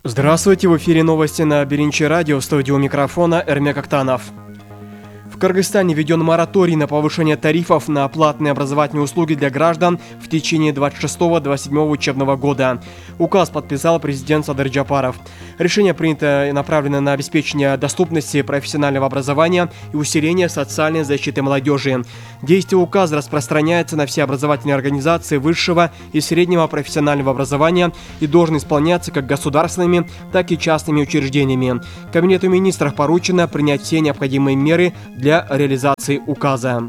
Здравствуйте, в эфире новости на Биринчи радио, в студии у микрофона Эрмек Актанов. В Кыргызстане введен мораторий на повышение тарифов на платные образовательные услуги для граждан в течение 26-27 учебного года. Указ подписал президент Садыр Джапаров. Решение принято и направлено на обеспечение доступности профессионального образования и усиление социальной защиты молодежи. Действие указа распространяется на все образовательные организации высшего и среднего профессионального образования и должен исполняться как государственными, так и частными учреждениями. Кабинету министров поручено принять все необходимые меры для реализации указа.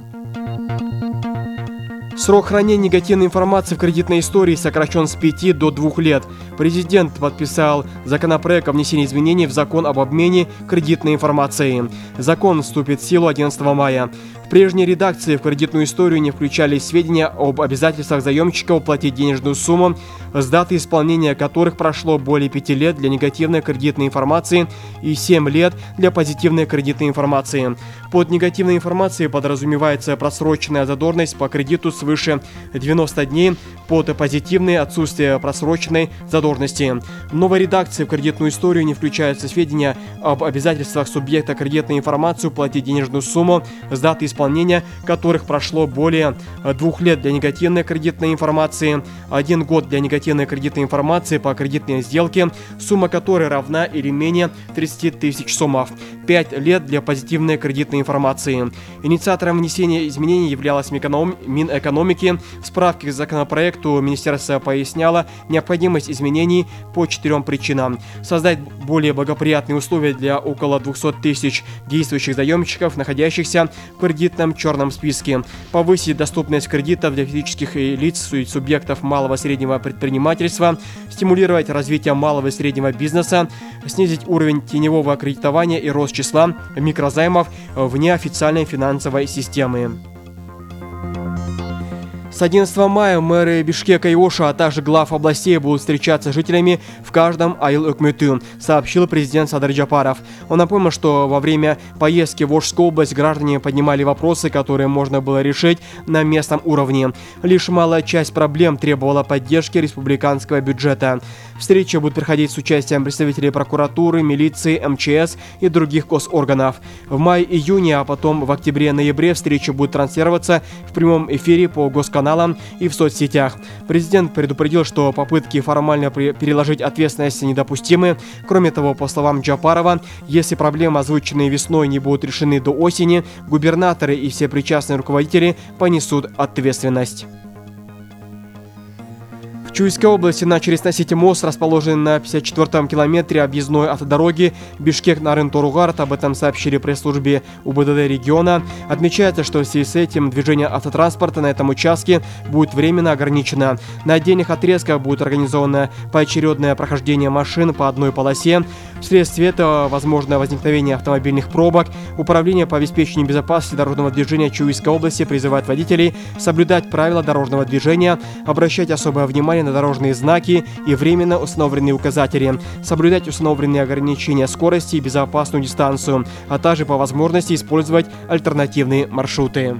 Срок хранения негативной информации в кредитной истории сокращен с 5 до 2 лет. Президент подписал законопроект о внесении изменений в закон об обмене кредитной информацией. Закон вступит в силу 11 мая. В прежней редакции в кредитную историю не включались сведения об обязательствах заемщика уплатить денежную сумму, с даты исполнения которых прошло более 5 лет для негативной кредитной информации и 7 лет для позитивной кредитной информации. Под негативной информацией подразумевается просроченная задолженность по кредиту свыше 90 дней, под позитивной отсутствие просроченной задолженности. В новой редакции в кредитную историю не включаются сведения об обязательствах субъекта кредитной информации уплатить денежную сумму, с даты исполнения которых прошло более 2 лет для негативной кредитной информации, 1 год для негативной кредитной информации по кредитной сделке, сумма которой равна или менее 30 тысяч сомов, 5 лет для позитивной кредитной информации. Инициатором внесения изменений являлась Минэкономики. В справке к законопроекту министерство поясняло необходимость изменений по 4 причинам. Создать более благоприятные условия для около 200 тысяч действующих заемщиков, находящихся в кредитном черном списке. Повысить доступность кредитов для физических лиц и субъектов малого и среднего предпринимательства. Стимулировать развитие малого и среднего бизнеса. Снизить уровень теневого кредитования и рост числа микрозаймов вне официальной финансовой системы. С 11 мая мэры Бишкека и Оша, а также глав областей будут встречаться с жителями в каждом айыл-өкмөтү, сообщил президент Садыр Джапаров. Он напомнил, что во время поездки в Ошскую область граждане поднимали вопросы, которые можно было решить на местном уровне. Лишь малая часть проблем требовала поддержки республиканского бюджета. Встреча будет проходить с участием представителей прокуратуры, милиции, МЧС и других госорганов. В мае-июне, а потом в октябре-ноябре встреча будет транслироваться в прямом эфире по госканалам и в соцсетях. Президент предупредил, что попытки формально переложить ответственность недопустимы. Кроме того, по словам Джапарова, если проблемы, озвученные весной, не будут решены до осени, губернаторы и все причастные руководители понесут ответственность. В Чуйской области начали сносить мост, расположенный на 54-м километре объездной автодороги Бишкек-Нарын-Торугарт. Об этом сообщили пресс-службе УБДД региона. Отмечается, что в связи с этим движение автотранспорта на этом участке будет временно ограничено. На отдельных отрезках будет организовано поочередное прохождение машин по одной полосе. Вследствие этого возможно возникновение автомобильных пробок. Управление по обеспечению безопасности дорожного движения Чуйской области призывает водителей соблюдать правила дорожного движения, обращать особое внимание на дорожные знаки и временно установленные указатели, соблюдать установленные ограничения скорости и безопасную дистанцию, а также по возможности использовать альтернативные маршруты.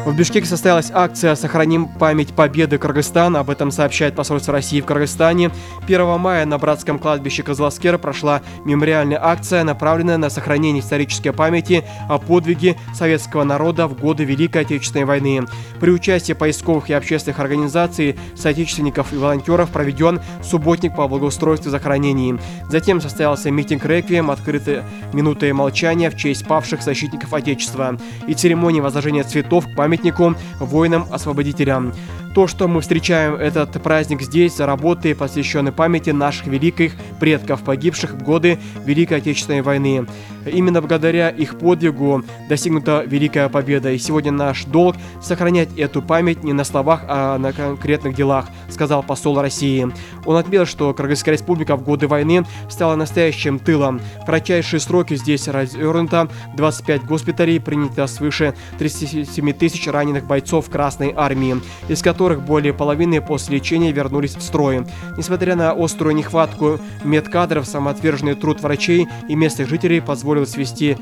В Бишкеке состоялась акция «Сохраним память победы Кыргызстана». Об этом сообщает посольство России в Кыргызстане. 1 мая на братском кладбище Кызыласкер прошла мемориальная акция, направленная на сохранение исторической памяти о подвиге советского народа в годы Великой Отечественной войны. При участии поисковых и общественных организаций, соотечественников и волонтеров проведен субботник по благоустройству и захоронении. Затем состоялся митинг-реквием, открытая минутой молчания в честь павших защитников Отечества и церемония возложения цветов к памятнику воинам-освободителям. То, что мы встречаем этот праздник здесь, работы, посвященные памяти наших великих предков, погибших в годы Великой Отечественной войны. Именно благодаря их подвигу достигнута великая победа. И сегодня наш долг сохранять эту память не на словах, а на конкретных делах, сказал посол России. Он отметил, что Кыргызская республика в годы войны стала настоящим тылом. В кратчайшие сроки здесь развернуто 25 госпиталей, принято свыше 37 тысяч раненых бойцов Красной армии, из которых более половины после лечения вернулись в строй. Несмотря на острую нехватку медкадров, самоотверженный труд врачей и местных жителей позволил свести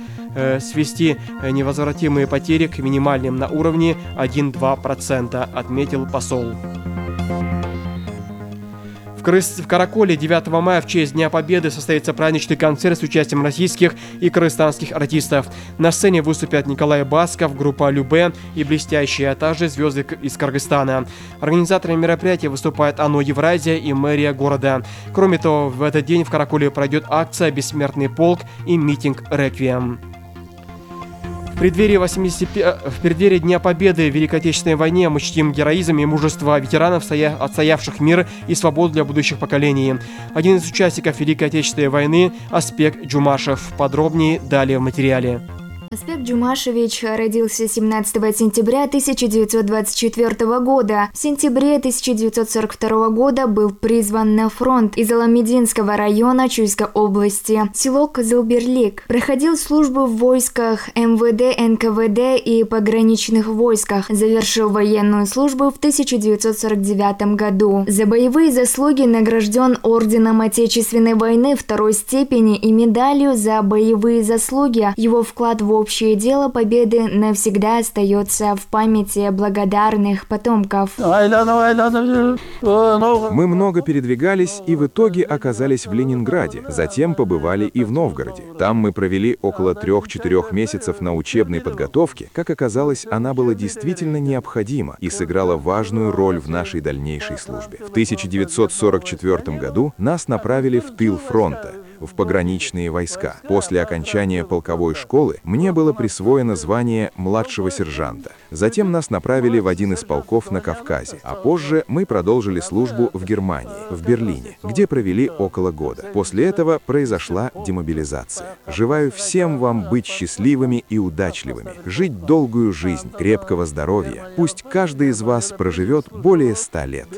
невозвратимые потери к минимальным на уровне 1-2%, отметил посол. В В Караколе 9 мая в честь Дня Победы состоится праздничный концерт с участием российских и кыргызстанских артистов. На сцене выступят Николай Басков, группа Любе и блестящие, а также звезды из Кыргызстана. Организаторами мероприятия выступает ОНО «Евразия» и мэрия города. Кроме того, в этот день в Караколе пройдет акция «Бессмертный полк» и митинг «Реквием». В преддверии Дня Победы в Великой Отечественной войне мы чтим героизм и мужество ветеранов, отстоявших мир и свободу для будущих поколений. Один из участников Великой Отечественной войны – Аспек Джумашев. Подробнее далее в материале. Аспек Джумашевич родился 17 сентября 1924 года. В сентябре 1942 года был призван на фронт из Аламединского района Чуйской области, село Кызылберлик. Проходил службу в войсках МВД, НКВД и пограничных войсках. Завершил военную службу в 1949 году. За боевые заслуги награжден орденом Отечественной войны второй степени и медалью за боевые заслуги. Его вклад в общее дело победы навсегда остается в памяти благодарных потомков. Мы много передвигались и в итоге оказались в Ленинграде. Затем побывали и в Новгороде. Там мы провели около 3-4 месяцев на учебной подготовке. Как оказалось, она была действительно необходима и сыграла важную роль в нашей дальнейшей службе. В 1944 году нас направили в тыл фронта, в пограничные войска. После окончания полковой школы мне было присвоено звание младшего сержанта. Затем нас направили в один из полков на Кавказе, а позже мы продолжили службу в Германии, в Берлине, где провели около года. После этого произошла демобилизация. Желаю всем вам быть счастливыми и удачливыми, жить долгую жизнь, крепкого здоровья. Пусть каждый из вас проживет более 100 лет.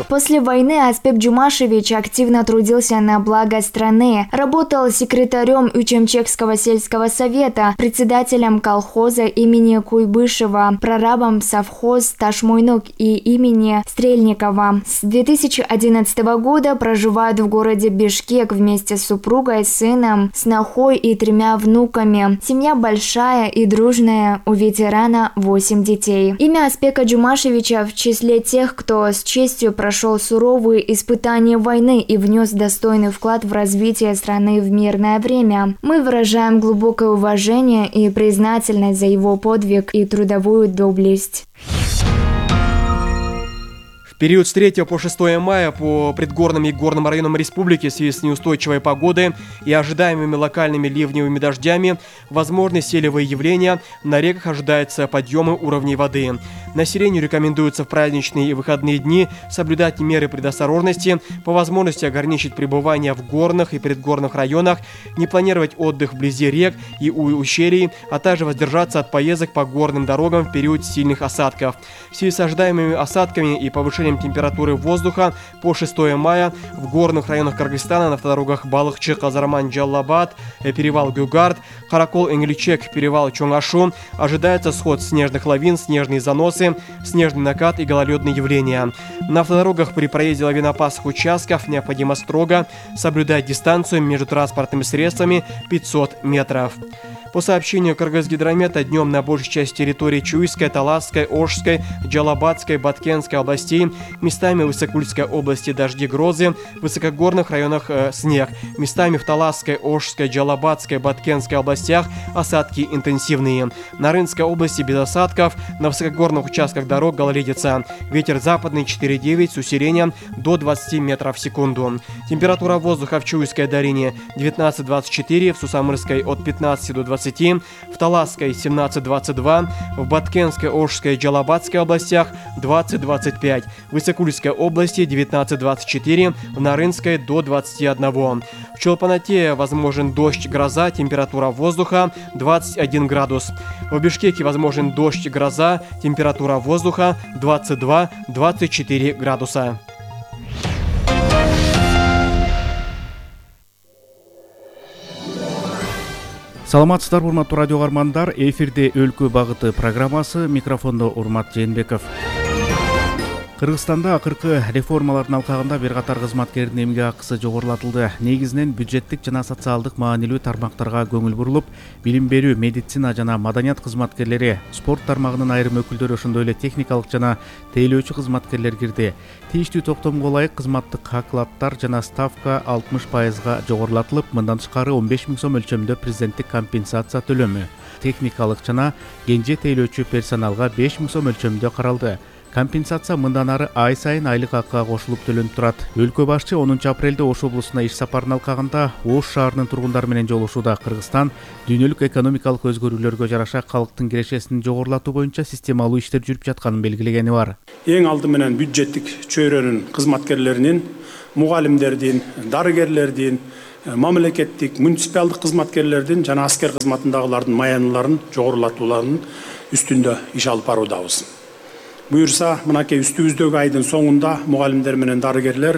После войны Аспек Джумашевич активно трудился на благо страны. Работал секретарем Учемчекского сельского совета, председателем колхоза имени Куйбышева, прорабом совхоз Ташмойнук и имени Стрельникова. С 2011 года проживает в городе Бишкек вместе с супругой, сыном, снохой и 3 внуками. Семья большая и дружная, у ветерана 8 детей. Имя Аспека Джумашевича в числе тех, кто с честью прошел суровые испытания войны и внес достойный вклад в развитие страны в мирное время. Мы выражаем глубокое уважение и признательность за его подвиг и трудовую доблесть. В период с 3 по 6 мая по предгорным и горным районам республики в связи с неустойчивой погодой и ожидаемыми локальными ливневыми дождями возможны селевые явления, на реках ожидаются подъемы уровней воды. Населению рекомендуется в праздничные и выходные дни соблюдать меры предосторожности, по возможности ограничить пребывание в горных и предгорных районах, не планировать отдых вблизи рек и у ущелий, а также воздержаться от поездок по горным дорогам в период сильных осадков. В связи с ожидаемыми осадками и повышением температуры воздуха по 6 мая в горных районах Кыргызстана на автодорогах Балыкчы, Казарман, Джаллабад, перевал Гюгард, Каракол, Энгельчек, перевал Чоңашу ожидается сход снежных лавин, снежные заносы, снежный накат и гололедные явления. На автодорогах при проезде лавинопасных участков необходимо строго соблюдать дистанцию между транспортными средствами 500 метров. По сообщению Кыргызгидромета, днем на большей части территории Чуйской, Таласской, Ошской, Джалабадской, Баткенской областей, местами в Высокульской области дожди, грозы, в высокогорных районах снег, местами в Таласской, Ошской, Джалабадской, Баткенской областях осадки интенсивные. На Рынской области без осадков, на высокогорных участках дорог гололедица. Ветер западный 4,9 с усилением до 20 метров в секунду. Температура воздуха в Чуйской долине 19-24, в Сусамырской от 15 до 20, в Таласской 17-22, в Баткенской, Ошской и Джалабадской областях 20-25, в Высокульской области 19-24, в Нарынской до 21. В Чолпанате возможен дождь, гроза, температура воздуха 21 градус. В Бишкеке возможен дождь, гроза, температура воздуха 22-24 градуса. Саламатсыздар, урматтуу радио каармандар. Эфирде Өлкө багыты программасы, микрофондо Урмат Жээнбеков. Кыргызстанда акыркы реформалардын алкагында бир катар кызматкердин эмгек акысы жогорулатылды. Негизинен бюджеттик жана социалдык маанилүү тармактарга көңүл бурулуп, билим берүү, медицина жана маданият кызматкерлери, спорт тармагынын айрым өкүлдөрү, ошондой эле техникалык жана тейлөөчү кызматкерлер кирди. Тийиштүү токтомго ылайык кызматтык окладдар жана ставка 60%га жогорулатылып, мындан тышкары 15 000 сом өлчөмүндө президенттик компенсация төлөмү, техникалык жана кенже тейлөөчү персоналга 5 000 сом өлчөмүндө каралды. Компенсация мындан ары ай сайын айлык акыга кошулуп төлөнүп турат. Өлкө башчы 10 апрелде Ош облусуна иш сапарын алкагында Ош шаарынын тургундары менен жолугушууда Кыргызстан дүйнөлүк экономикалык өзгөрүүлөргө жараша калктын кирешесин жогорулатуу боюнча системалуу иштер жүрүп жатканын белгилегени бар. Эң алды менен бюджеттик чөйрөнүн кызматкерлеринин, мугалимдердин, дарыгерлердин, мамлекеттик, муниципалдык кызматкерлердин жана аскер кызматындагылардын маяныларын жогорулатууларынын үстүндө иш алып баруудабыз. Буюрса, мынакей үстүбүздөгү айдын соңунда мугалимдер менен дарыгерлер,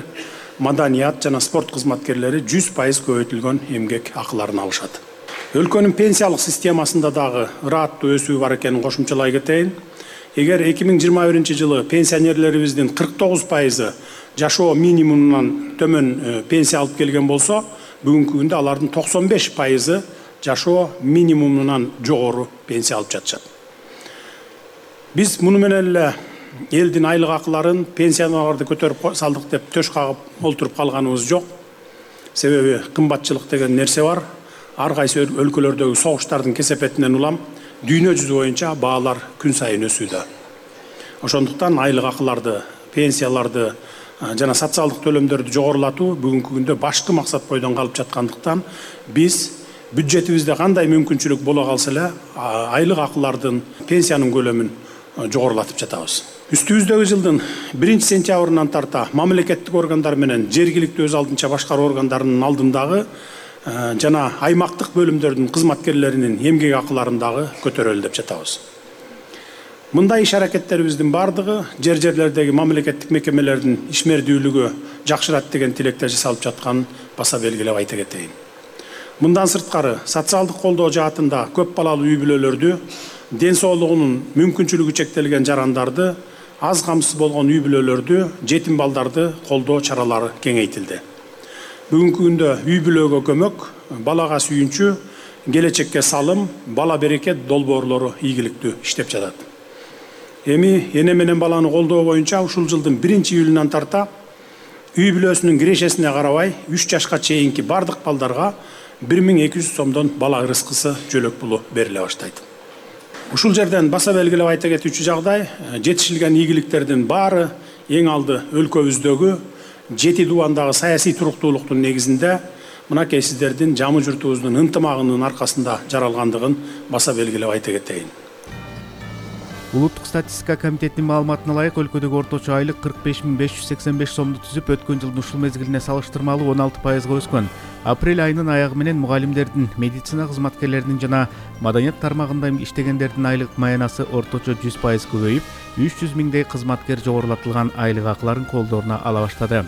маданият жана спорт кызматкерлери 100% көбөйтүлгөн эмгек акыларын алышат. Өлкөнүн пенсиялык системасында дагы ырааттуу өсүү бар экенин кошумчалай кетейин. Эгер 2021 жылы пенсионерлерибиздин 49% жашоо минимумунан төмөн пенсия алып келген болсо, бүгүнкү күндө алардын 95% жашоо минимумунан жогору пенсия алып жатышат. Биз муну менен эле элдин айлык акыларын, пенсияларды көтөрүп салдык деп төш кагып олтуруп калганыбыз жок. Себеби кымбатчылык деген нерсе бар. Ар кайсы өлкөлөрдөгү согуштардын кесепетинен улам дүйнө жүзү боюнча баалар күн сайын өсүүдө. Ошондуктан айлык акыларды, пенсияларды жана социалдык төлөмдөрдү жогорулатуу бүгүнкү күндө башкы максат бойдон калып жаткандыктан биз бюджетибизде кандай мүмкүнчүлүк боло калса эле айлык акылардын, пенсиянын көлөмүн жогорулатып жатабыз. Үстүбүздөгү жылдын 1 сентябрынан тарта мамлекеттик органдар менен жергиликтүү өз алдынча башкаруу органдарынын алдындагы жана аймактык бөлүмдөрдүн кызматкерлеринин эмгек акыларын дагы көтөрөлү деп жатабыз. Мындай иш аракеттерибиздин бардыгы жерлердеги мамлекеттик мекемелердин ишмердүүлүгү жакшырат деген тилекте жасалып жатканын баса белгилеп айта кетейин. Мындан сырткары социалдык колдоо жаатында көп балалуу үй бүлөлөрдү, ден соолугунун мүмкүнчүлүгү чектелген жарандарды, аз камсыз болгон үй бүлөлөрдү, жетим балдарды колдоо чаралары кеңейтилди. Бүгүнкү күндө үй бүлөгө көмөк, балага сүйүнчү, келечекке салым, бала берекет долбоорлору ийгиликтүү иштеп жатат. Эми эне менен баланы колдоо боюнча ушул жылдын 1 июлунан тарта үй бүлөсүнүн кирешесине карабай 3 жашка чейинки бардык балдарга 1200 сомдон бала ырыскысы жөлөк пулу бериле баштайт. Ушул жерден баса белгилеп айта кетүүчү жагдай, жетишилген ийгиликтердин баары эң алды өлкөбүздөгү жети дубандагы саясий туруктуулуктун негизинде мынакей сиздердин жамы журтубуздун ынтымагынын аркасында жаралгандыгын баса белгилеп айта кетейин. Улуттук статистика комитетинин маалыматына ылайык өлкөдөгү орточо айлык 45 585 сомду түзүп, өткөн жылдын ушул мезгилине салыштырмалуу 16%га өскөн. Апрель айынын аягы менен мугалимдердин, медицина кызматкерлеринин жана маданият тармагында иштегендердин айлык маянасы орточо 100% көбөйүп, 300 миңдей кызматкер жогорулатылган айлык акыларын колдоруна ала баштады.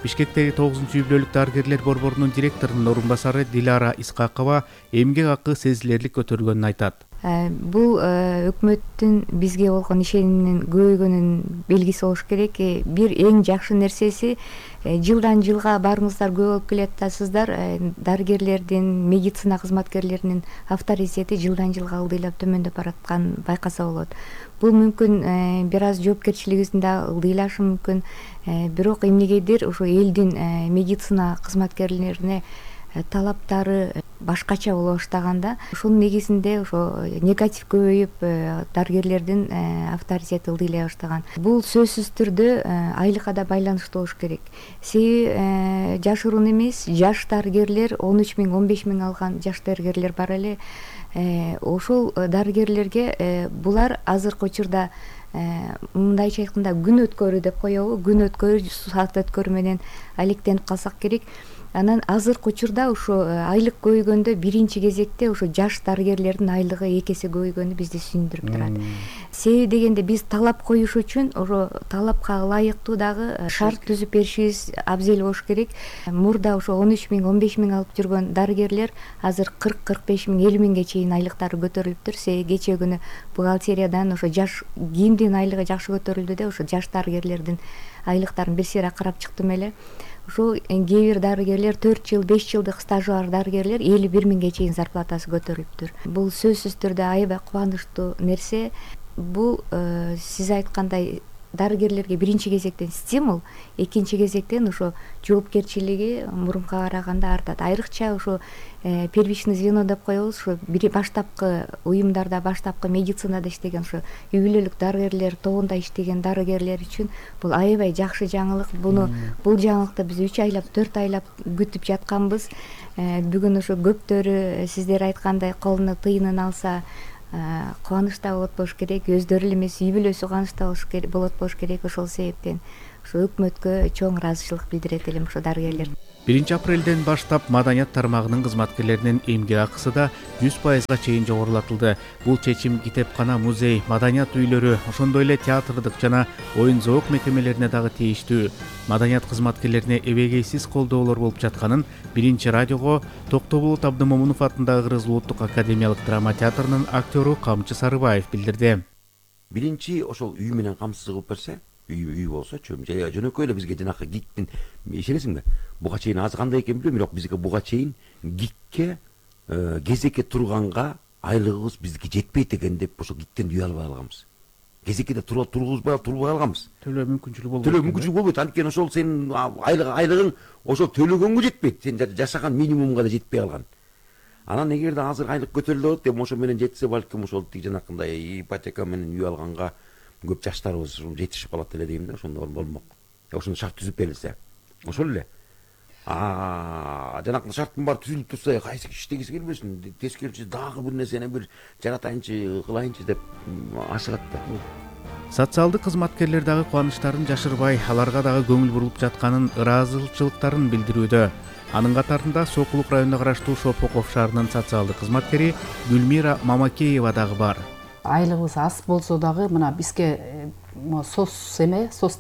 Бишкектеги 9-үй бүлөлүк дарыгерлер борборунун директорунун орун басары Дилара Исқақова эмгек акы сезилерлик көтөрүлгөнүн айтат. Бул өкмөттүн бизге болгон ишениминин көбөйгөнүнүн белгиси болуш керек. Бир эң жакшы нерсеси жылдан жылга баарыңыздар көп болуп келатасыздар. Дарыгерлердин, медицина кызматкерлеринин авторитети жылдан жылга ылдыйлап төмөндөп баратканын байкаса болот. Бул мүмкүн бир аз жоопкерчилигибиздин да ылдыйлашы мүмкүн. Бирок эмнегедир ошо элдин медицина кызматкерлерине талаптары башкача боло баштаганда, ошонун негизинде ошо негатив көбөйүп, дарыгерлердин авторитети ылдыйлай баштаган. Бул сөзсүз түрдө айлыкка да байланыштуу болуш керек. Себеби жашыруун эмес, жаш дарыгерлер 13 000, 15 000 алган жаш дарыгерлер бар эле. Ошол дарыгерлерге булар азыркы учурда мындайча айтканда күн өткөрүү деп коебу, күн өткөрүү, саат өткөрүү менен алектенип калсак керек. Анан азыркы учурда ошо айлык көбөйгөндө биринчи кезекте ошо жаш дарыгерлердин айлыгы 2 эсе көбөйгөнү бизди сүйүндүрүп турат. Себеби дегенде биз талап коюш үчүн ошо талапка ылайыктуу дагы шарт түзүп беришибиз абзел болуш керек. Мурда ошо 13 миң, 15 миң алып жүргөн дарыгерлер азыр 40-45 миң, 50 миңге чейин айлыктары көтөрүлүптүр. Себеби кечээ күнү бухгалтериядан ошо жаш кимдин айлыгы жакшы көтөрүлдү деп ошо жаш дарыгерлердин айлыктарын бир сыйра карап чыктым эле. Ошо кээ бир дарыгерлер 4 жыл, 5 жылдык стажы бар дарыгерлер 51 миңге чейин зарплатасы көтөрүлүптүр. Бул сөзсүз түрдө аябай кубанычтуу нерсе. Бул сиз айткандай дарыгерлерге биринчи кезектен стимул, экинчи кезектен ошо жоопкерчилиги мурунка караганда артат. Айрыкча ошо первичный звено деп коебуз, ошо бир баштапкы уюмдарда, баштапкы медицинада иштеген, ошо үй бүлөлүк дарыгерлер тобунда иштеген дарыгерлер үчүн бул аябай жакшы жаңылык. Бул жаңылыкты биз 3 айлап, 4 айлап күтүп жатканбыз. Бүгүн ошо көптөрү сиздер айткандай колуна тыйынын алса кубанычта болот болуш керек, өздөрү эле эмес үй бүлөсү кубанычта болот болуш керек. Ошол себептен ошо өкмөткө чоң ыраазычылык билдирет элем ошо дарыгерлер. 1 апрелден баштап маданият тармагынын кызматкерлеринин эмгек акысы да 100%га чейин жогорулатылды. Бул чечим китепкана, музей, маданият үйлөрү, ошондой эле театрдык жана оюн зоок мекемелерине дагы тийиштүү. Маданият кызматкерлерине эбегейсиз колдоолор болуп жатканын Биринчи радиого Токтоболот Абдымомунов атындагы Кыргыз Улуттук академиялык драма театрынын актёру Камчы Сарыбаев билдирди. Биринчи ошол үй менен камсыз кылып берсе, үй болсочу, жөнөкөй эле бизге жанакы гиктин ишенесиңби? Буга чейин аз кандай экен билбейм, бирок бизге буга чейин гикке кезекке турганга айлыгыбыз бизге жетпейт экен деп ошо гиктен үй албай алганбыз. Кезеккеде турбай алганбыз. Төлөө мүмкүнчүлүгү болбойт. Төлөө мүмкүнчүлүгү болбойт. Анткени ошол сенин айлыгың ошол төлөгөнгө жетпейт. Сен жашаган минимумга да жетпей калган. Анан эгерде азыр айлык көтөрүлөт деп ошо менен жетсе, балким ошол тиг жанакындай ипотека менен үй алганга көп жаштарыбыз жетишип калат эле дейм да, ошондо болмок. Ошондо шарт түзүп берилсе. Ошол эле. Жанакы шарттын баары түзүлүп турса, кайсы иштегиси келбесин, тескерисинче дагы бир нерсени бир жаратайынчы, кылайынчы деп ашыгат да. Социалдык кызматкерлер дагы кубанычтарын жашырбай, аларга дагы көңүл бурулуп жатканын, ыраазычылыктарын билдирүүдө. Анын катарында Сокулук районуна караштуу Шопоков шаарынын социалдык кызматкери Гүлмира Мамакеева дагы бар. Айлыгыбыз аз болсо дагы мына бизге сос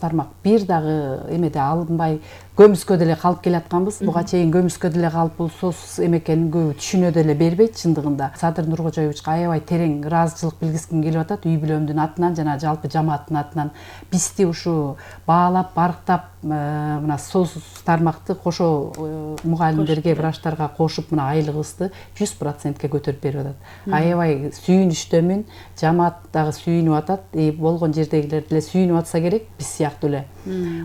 тармак бир дагы эмеде алынбай көмүскө деле калып келатканбыз. Буга чейин көмүскө деле калып бул сос эмекенин көбү түшүнө деле бербейт чындыгында. Садыр Нуркожоевичке аябай терең ыраазычылык билгиским келип атат үй бүлөмдүн атынан жана жалпы жамааттын атынан. Бизди ушу баалап, барктап мына сос тармакты кошо мугалимдерге, врачтарга кошуп мына айлыгыбызды 100%ке көтөрүп берип атат. Аябай сүйүнүчтөмүн, жамаат дагы сүйүнүп атат, болгон жердегилер деле сүйүнүп атса керек, биз сыяктуу эле.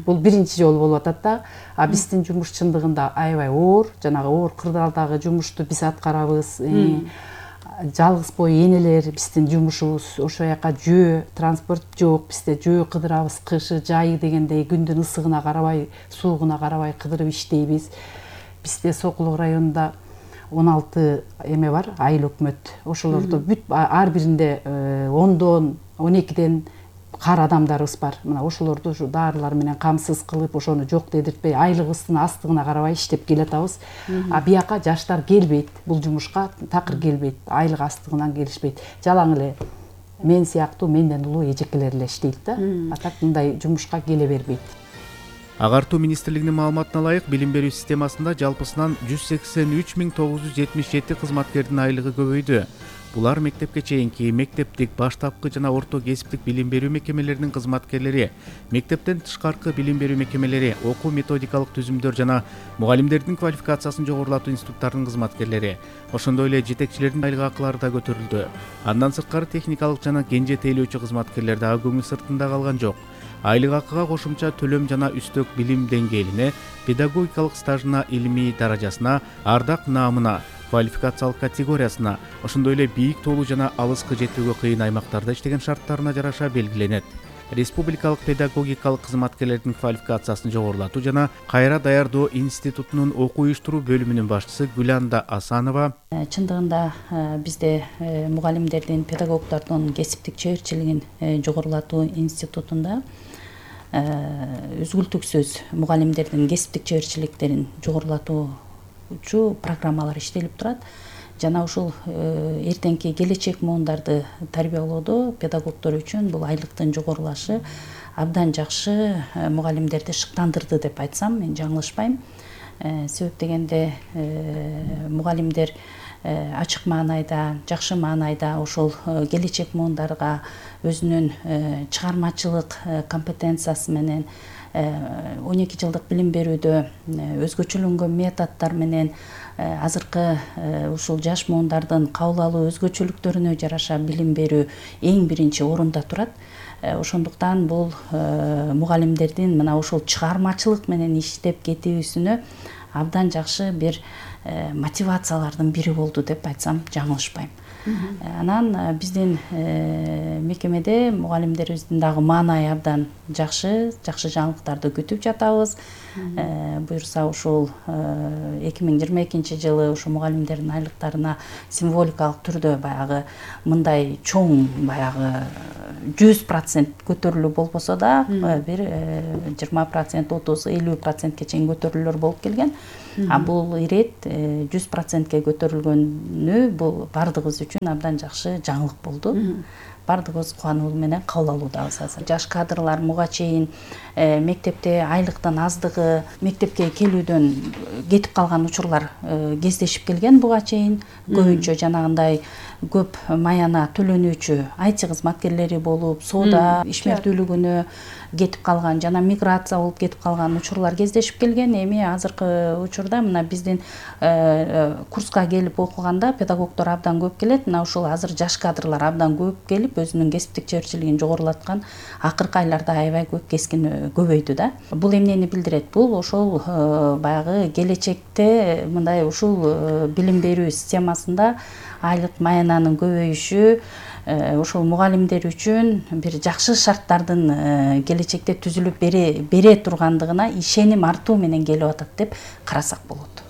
Бул биринчи жолу болуп атат да. Биздин жумуш чындыгында аябай оор, жанагы оор кырдаалдагы жумушту биз аткарабыз. Жалгыз бой энелер биздин жумушубуз, ошол жака жөө, транспорт жок, бизде жөө кыдырабыз, кышы, жайы дегендей күндүн ысыгына карабай, суугуна карабай кыдырып иштейбиз. Бизде Сокулук районунда 16 эме бар, айыл өкмөт. Ошолордо бүт ар биринде 10дон, 12ден кар адамдарыбыз бар. Мына ошолорду ушу дарылар менен камсыз кылып, ошону жок дедиртпей, айлыгыбыздын астыгына карабай иштеп келатабыз. Бияка жаштар келбейт, бул жумушка такыр келбейт, айлык астыгынан келишпейт. Жалаң эле мен сыяктуу менден улуу эжекелер эле иштейт да. Так мындай жумушка келе бербейт. Агартуу министрлигинин маалыматына ылайык, билим берүү системасында жалпысынан 183.977 кызматкердин айлыгы көбөйдү. Булар мектепке чейинки, мектептик, баштапкы жана орто кесиптик билим берүү мекемелеринин кызматкерлери, мектептен тышкаркы билим берүү мекемелери, окуу методикалык түзүмдөр жана мугалимдердин квалификациясын жогорулатуу институттарынын кызматкерлери, ошондой эле жетекчилердин айлык акылары да көтөрүлдү. Андан сырткары техникалык жана кенже тейлөөчү кызматкерлер дагы көңүл сыртында калган жок. Айлык акыга кошумча төлөм жана үстөк билим деңгээлине, педагогикалык стажына, илимий даражасына, ардак наамына, квалификациялык категориясына, ошондой эле бийик тоолуу жана алыскы жетүүгө кыйын аймактарда иштеген шарттарына жараша белгиленет. Республикалык педагогикалык кызматкерлердин квалификациясын жогорулатуу жана кайра даярдоо институтунун окуу уюштуруу бөлүмүнүн башчысы Гүланда Асанова чындыгында бизде мугалимдердин, педагогдордун кесиптик чеберчилигин жогорулатуу институтунда үзгүлтүксүз мугалимдердин кесиптик чеберчиликтерин жогорулатуучу программалар иштелип турат. Жана ушул эртеңки келечек муундарды тарбиялоодо педагогдор үчүн бул айлыктын жогорулашы абдан жакшы мугалимдерди шыктандырды деп айтсам мен жаңылышпайм. Себеп дегенде мугалимдер ачык маанайда, жакшы маанайда ошол келечек муундарга өзүнүн чыгармачылык компетенциясы менен 12 жылдык билим берүүдө өзгөчөлөнгөн методдор менен азыркы ушул жаш муундардын кабыл алуу өзгөчөлүктөрүнө жараша билим берүү эң биринчи орунда турат. Ошондуктан бул мугалимдердин мына ушул чыгармачылык менен иштеп кетүүсүнө абдан жакшы бир мотивациялардын бири болду деп айтсам жаңылышпайм. Анан биздин мекемеде мугалимдерибиздин дагы маанайы абдан жакшы жаңылыктарды күтүп жатабыз. Буюрса ушул 2022 жылы ушу мугалимдердин айлыктарына символикалык түрдө баягы мындай чоң баягы 100% көтөрүлүү болбосо да бир 20%, 30-50%ке чейин көтөрүлүүлөр болуп келген. А бул ирет 100%ке көтөрүлгөнү бул бардыгыбыз үчүн абдан жакшы жаңылык болду. Бардыгыбыз кубануу менен кабыл алуудабыз азыр. Жаш кадрлар муга чейин мектепте айлыктын аздыгы, мектепке келүүдөн кетип калган учурлар кездешип келген буга чейин. Көбүнчө жанагындай көп маяна төлөнүүчү IT кызматкерлери болуп, соода ишмердүүлүгүнө кетип калган жана миграция болуп кетип калган учурлар кездешип келген. Эми азыркы учурда мына биздин курска келип окуганда педагогдор абдан көп келет. Мына ушул азыр жаш кадрлар абдан көп келип өзүнүн кесиптик чеберчилигин жогорулаткан акыркы айларда аябай көп кескин көбөйдү да. Бул эмнени билдирет? Бул ошол баягы келечекте мындай ушул билим берүү системасында айлык маянанын көбөйүшү ошол мугалимдер үчүн бир жакшы шарттардын келечекте түзүлүп бере тургандыгына ишеним артуу менен келип атат деп карасак болот.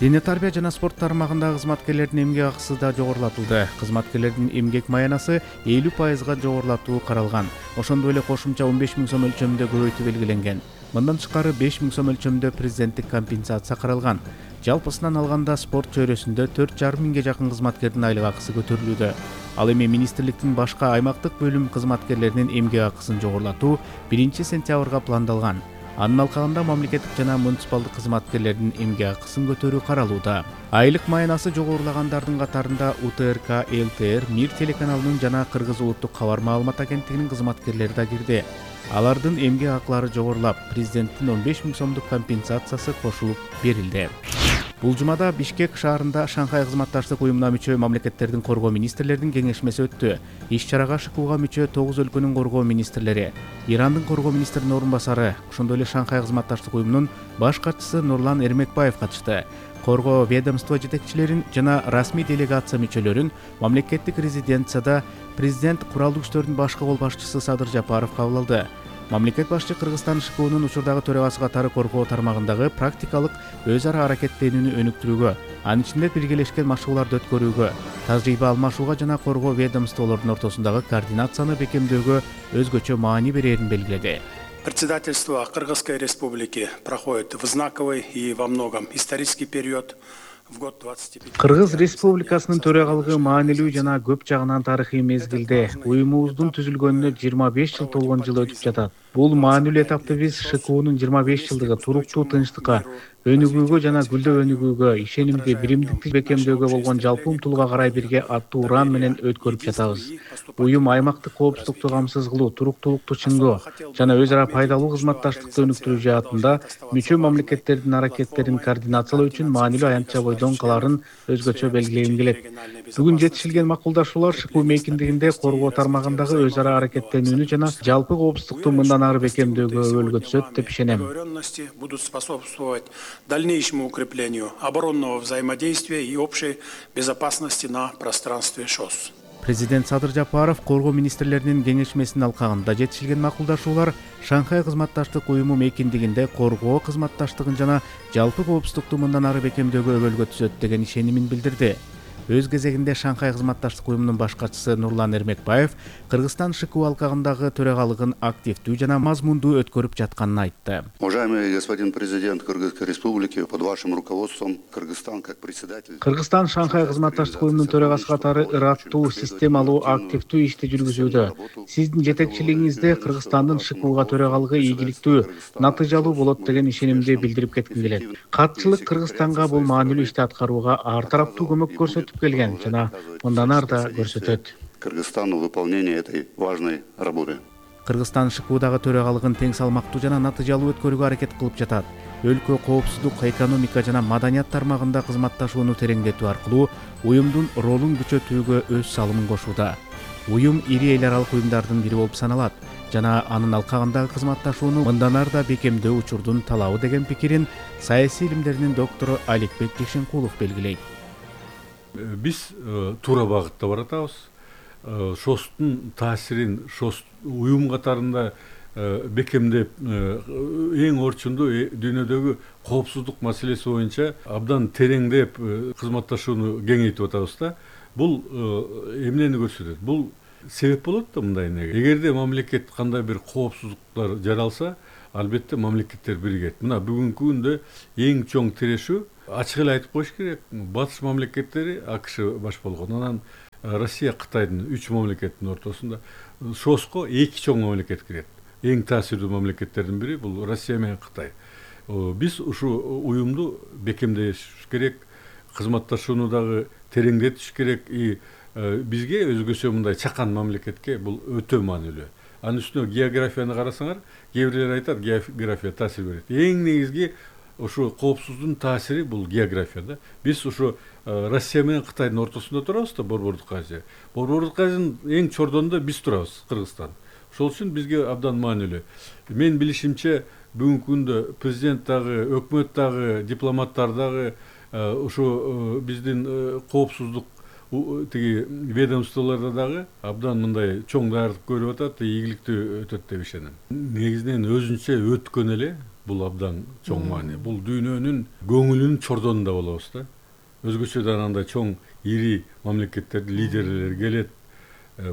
Дене тарбия жана спорт тармагындагы кызматкерлердин эмгек акысы да жогорулатылды. Кызматкерлердин эмгек маянасы 50%га жогорулатуу каралган. Ошондой эле кошумча 15 000 сом өлчөмүндө көбөйтүү белгиленген. Мындан тышкары 5 000 сом өлчөмүндө президенттик компенсация каралган. Жалпысынан алганда спорт чөйрөсүндө 4,5 миңге жакын кызматкердин айлык акысы көтөрүлүүдө. Ал эми министрликтин башка аймактык бөлүм кызматкерлеринин эмгек акысын жогорулатуу 1-сентябрга пландалган. Анын алкагында мамлекеттик жана муниципалдык кызматкерлердин эмгек акысын көтөрүү каралууда. Айлык маянасы жогорулагандардын катарында УТРК, ЛТР, МИР телеканалынын жана Кыргыз улуттук кабар маалымат агенттигинин кызматкерлери да кирди. Алардын эмгек акылары жогорулап, президенттин 15 000 сомдук компенсациясы кошулуп берилди. Бул жумада Бишкек шаарында Шанхай кызматташтык уюмуна мүчө мамлекеттердин коргоо министрлеринин кеңешмеси өттү. Иш-чарага ШКУга мүчө 9 өлкөнүн коргоо министрлери, Ирандын коргоо министринин орун басары, ошондой эле Шанхай кызматташтык уюмунун баш катчысы Нурлан Эрмекбаев катышты. Коргоо ведомство жетекчилерин жана расмий делегация мүчөлөрүн мамлекеттик резиденцияда президент куралдуу күчтөрдүн башкы кол башчысы Садыр Жапаров кабыл алды. Мамлекет башчы Кыргызстан ШКУнун учурдагы төрагасы катары коргоо тармагындагы практикалык өз ара аракеттенүүнү өнүктүрүүгө, анын ичинде биргелешкен машыгууларды өткөрүүгө, тажрыйба алмашууга жана коргоо ведомстволордун ортосундагы координацияны бекемдөөгө өзгөчө маани берерин белгиледи. Председательство Кыргызской Республики проходит в знаковый и во многом исторический период. Кыргыз Республикасынын төрагалыгы маанилүү жана көп жагынан тарыхый мезгилде уюмубуздун түзүлгөнүнө 25 жыл толгон жыл өтүп жатат. Бул маанилүү этапты биз ШКУнун 25 жылдыгы туруктуу тынчтыкка, өнүгүүгө жана гүлдөө өнүгүүгө, ишенимди, биримдикти бекемдөөгө болгон жалпы умтулууга карай бирге аттуу уран менен өткөрүп жатабыз. Уюм аймактык коопсуздукту камсыз кылуу, туруктуулукту чыңдоо жана өз ара пайдалуу кызматташтыкты өнүктүрүү жаатында мүчө мамлекеттердин аракеттерин координациялоо үчүн маанилүү аянтча бойдон каларын өзгөчө белгилегим келет. Бүгүн жетишилген макулдашуулар ШКУ мейкиндигинде коргоо тармагындагы өз ара аракеттенүүнү жана жалпы коопсуздукту мындан ары бекемдөөгө өбөлгө түзөт деп ишенем. Будут способствовать дальнейшему укреплению оборонного взаимодействия и общей безопасности на пространстве ШОС. Президент Садыр Жапаров коргоо министрлеринин кеңешмесинин алкагында жетишилген макулдашуулар Шанхай кызматташтык уюму мейкиндигинде коргоо кызматташтыгын жана жалпы коопсуздукту мындан ары бекемдөөгө өбөлгө түзөт деген ишенимин билдирди. Өз кезегинде Шанхай кызматташтык уюмунун баш катчысы Нурлан Эрмекбаев Кыргызстан ШКУ алкагындагы төрөгалыгын активдүү жана мазмундуу өткөрүп жатканын айтты. Уважаемый господин президент Кыргызской республики, под вашим руководством Кыргызстан как председатель. Кыргызстан Шанхай кызматташтык уюмунун төрагасы катары ыраттуу, системалуу, активдүү ишти жүргүзүүдө. Сиздин жетекчилигиңизде Кыргызстандын ШКУга төрагалыгы ийгиликтүү, натыйжалуу болот деген ишенимди билдирип кетким келет. Катчылык Кыргызстанга бул маанилүү ишти аткарууга ар тараптуу көмөк көрсөтүп келген жана мындан ары да көрсөтөт. Кыргызстану выполнение этой важной работы. Кыргызстан ШКУдагы төрагалыгын тең салмактуу жана натыйжалуу өткөрүүгө аракет кылып жатат. Өлкө коопсуздук, экономика жана маданият тармагында кызматташууну тереңдетүү аркылуу уюмдун ролун күчөтүүгө өз салымын кошууда. Уюм ири эл аралык уюмдардын бири болуп саналат жана анын алкагындагы кызматташууну мындан ары да бекемдөө учурдун талабы деген пикирин саясий илимдеринин доктору Аликбек Жекшенкулов белгилейт. Биз туура багытта баратабыз. ШОСтун таасирин ШОС уюм катарында бекемдеп эң орчундуу дүйнөдөгү коопсуздук маселеси боюнча абдан тереңдеп кызматташууну кеңейтип атабыз да. Бул эмнени көрсөтөт? Бул себеп болот да мындай неге. Эгерде мамлекет кандай бир коопсуздуктар жаралса, албетте мамлекеттер биригет. Мына бүгүнкү күндө эң чоң тирешүү, ачык эле айтып коюш керек, батыш мамлекеттери АКШ баш болгон, анан Россия, Кытайдын 3 мамлекеттин ортосунда ШОСко 2 чоң мамлекет кирет. Эң таасирдүү мамлекеттердин бири бул Россия менен Кытай. Биз ушу уюмду бекемдеш керек, кызматташууну дагы тереңдетиш керек. Бизге өзгөчө мындай чакан мамлекетке бул өтө маанилүү. Анын үстүнө географияны карасаңар, кээ бирлер айтат, география таасир берет. Эң негизги ушу коопсуздуктун таасири бул география да. Биз ушу Россия менен Кытайдын ортосунда турабыз да, Борбордук Азия. Борбордук Азиянын эң чордонунда биз турабыз, Кыргызстан. Ошол үчүн бизге абдан маанилүү. Мен билишимче бүгүнкү күндө президент дагы, өкмөт дагы, дипломаттар дагы ушу биздин коопсуздук тиги ведомстволордо дагы абдан мындай чоң даярдык көрүп атат, ийгиликтүү өтөт деп ишенем. Негизинен өзүнчө өткөн эле бул абдан чоң маани. Бул дүйнөнүн көңүлүнүн чордонунда болобуз да. Өзгөчөдөн андай чоң ири мамлекеттердин лидерлери келет,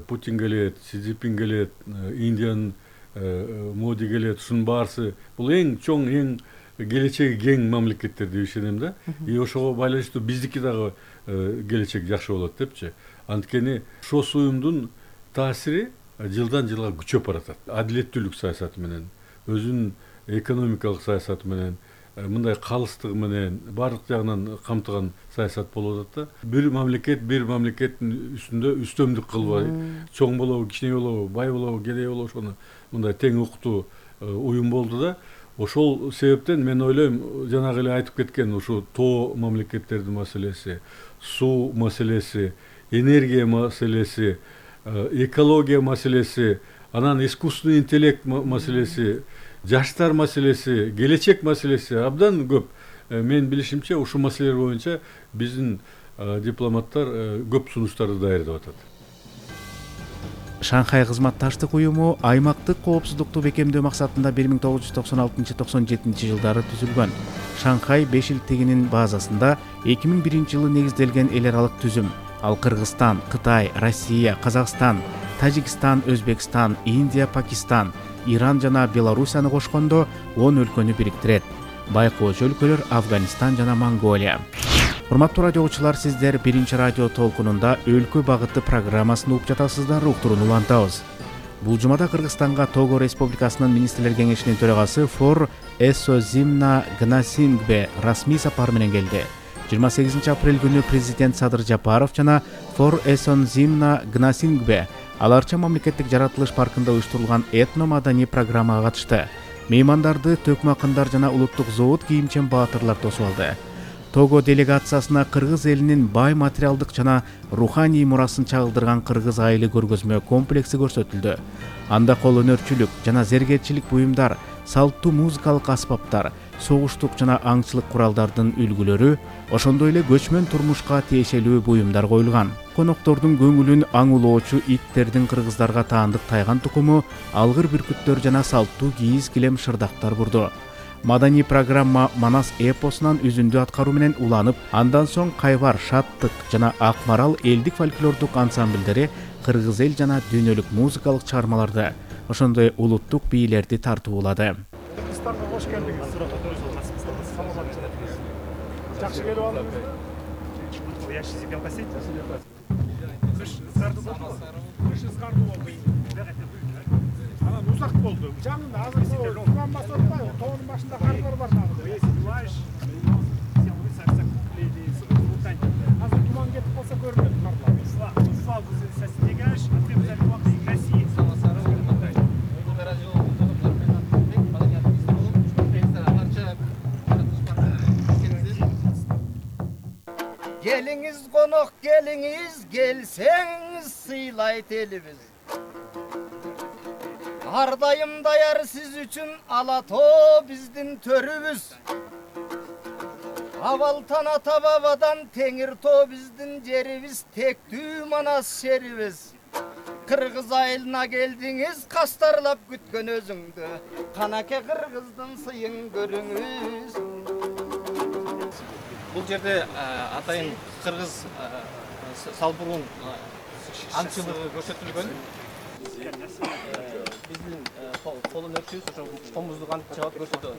Путин келет, Си Цзиньпин келет, Индиянын Моди келет, ушунун баарысы бул эң чоң, эң келечеги кең мамлекеттер деп ишенем да. Ошого байланыштуу биздики дагы келечек жакшы болот депчи. Анткени ШОС уюмдун таасири жылдан жылга күчөп баратат. Адилеттүүлүк саясаты менен, өзүнүн экономикалык саясаты менен, мындай калыстыгы менен баардык жагынан камтыган саясат болуп атат да. Бир мамлекеттин үстүндө үстөмдүк кылбай, чоң болобу, кичине болобу, бай болобу, кедей болобу, ошону мындай тең укуктуу уюм болду да. Ошол себептен мен ойлойм, жанагы эле айтып кеткен ушу тоо мамлекеттердин маселеси, суу маселеси, энергия маселеси, экология маселеси, анан искусственный интеллект маселеси, жаштар маселеси, келечек маселеси абдан көп. Мен билишимче ушу маселелер боюнча биздин дипломаттар көп сунуштарды даярдап атат. Шанхай кызматташтык уюму аймактык коопсуздукту бекемдөө максатында 1996-97 жылдары түзүлгөн. Шанхай 5 илтигинин базасында 2001 жылы негизделген эл аралык түзүм. Ал Кыргызстан, Кытай, Россия, Казакстан, Тажикстан, Өзбекстан, Индия, Пакистан, Иран жана Белоруссияны кошкондо 10 өлкөнү бириктирет. Байкоочу өлкөлөр Афганистан жана Монголия. Урматтуу радио угуучулар, сиздер биринчи радио толкунунда өлкө багыты программасын угуп жатасыздар, уктурууну улантабыз. Бул жумада Кыргызстанга Того Республикасынын министрлер кеңешинин төрагасы Фор Эсозимна Гнасингбе расмий сапар менен келди. 28 апрель күнү президент Садыр Жапаров жана Фор Эсозимна Гнасингбе аларча мамлекеттик жаратылыш паркында уюштурулган этно-маданий программага катышты. Меймандарды төкмө акындар жана улуттук зоот кийимчен баатырлар тосуп алды. Того делегациясына кыргыз элинин бай материалдык жана руханий мурасын чагылдырган кыргыз айылы көргөзмө комплекси көрсөтүлдү. Анда кол өнөрчүлүк жана зергерчилик буюмдар, салттуу музыкалык аспаптар, согуштук жана аңчылык куралдардын үлгүлөрү, ошондой эле көчмөн турмушка тиешелүү буюмдар коюлган. Коноктордун көңүлүн аңулоочу иттердин кыргыздарга таандык тайган тукуму, алгыр бүркүттөр жана салттуу кийиз килем шырдактар бурду. Маданий программа Манас эпосунан үзүндү аткаруу менен уланып, андан соң Кайвар, Шаттык жана Ак Марал элдик фольклордук ансамбльдери кыргыз эл жана дүйнөлүк музыкалык чыгармаларды, ошондой улуттук бийлерди тартуулады. Кыргызстанга кош келдиңиз. Жакшы келип алдыңызбы? Я сейчас себя посетил. Кыш ызгарды болду. Кыш ызгарды болду. Анан узак болду. Жаңында азыр туман басып атпайбы? Тоонун башында карлар бар дагы. Если жылайш, сен высаксак леди сыгыртань. Азыр туман кетип калса көрүнөт карлар. Слава состигаешь, а ты взял вакыт в России. Geliniz konuk geliniz, gelseniz sıylayt elimiz. Ardayım dayar siz üçün alato bizdin törübüz. Avaltan ata babadan tengir to bizdin cerimiz, tektü Manas şeribiz. Kırgız ayılına geldiniz, kastarlap gütkön özüngdü. Kanake Kırgızdın sıyın görüңүз. Бұл жерде атайын қырғыз салбурун аңчылыгы көрсөтүлгөн. Биздин колун өрчүбүз ошо комуздук аңчылык көрсөтөт.